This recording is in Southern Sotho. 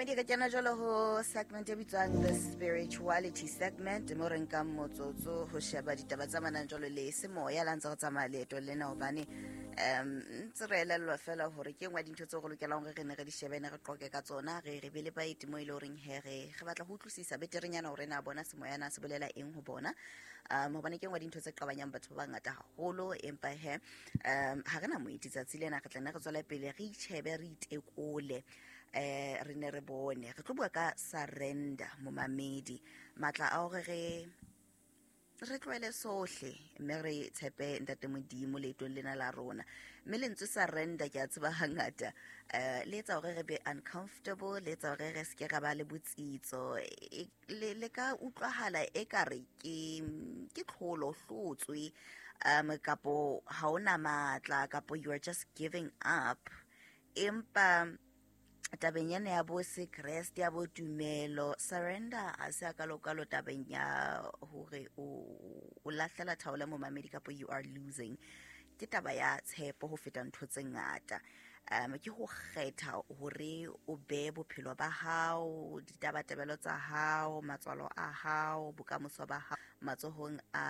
Momamedi, re kena jalo ho segment e bitswang the spirituality segment, mo re nkang motsotso ho sheba ditaba tsa manang jalo le semoya la ntse re tsamaya leeto lena, hobane ntse re elellwa fela hore ke nngwe ya dintho tseo re lokelang hore re ne re di shebe, ne re qoke ka tsona, re be le baeti mo e le horeng he re batla ho utlwisisa beterenyana hore na bona semoya na se bolela eng ho bona, hobane ke nngwe ya dintho tse qabanyang batho ba bangata haholo. Empa he ha re na moeti tsatsi lena, re tla ne re tswele pele re itjhebe, re itekole, re ne re bone. Re tlo bua ka surrender, momamedi, matla a hore re tlohele sohle mme re tshepe Ntate Modimo leetong lena la rona. Mme lentswe surrender, ke a tseba hangata le etsa hore re be uncomfortable, le etsa hore re seke ra ba le botsitso. Le ka utlwahala e ka re ke tlholo, hlotswe, kapo ha ona matla, kapo you are just giving up. Empa tabeng ena ya bo sekreste, ya bo tumelo, surrender a se a kalokalo tabeng ya hore o lahlela thaola, momamedi, kapo you are losing. Ke taba ya tshepo ho feta ntho tse ngata. Ke ho kgetha hore o be bophelo ba hao, ditabatabelo tsa hao, matswalo a hao, bokamoso ba hao matsohong a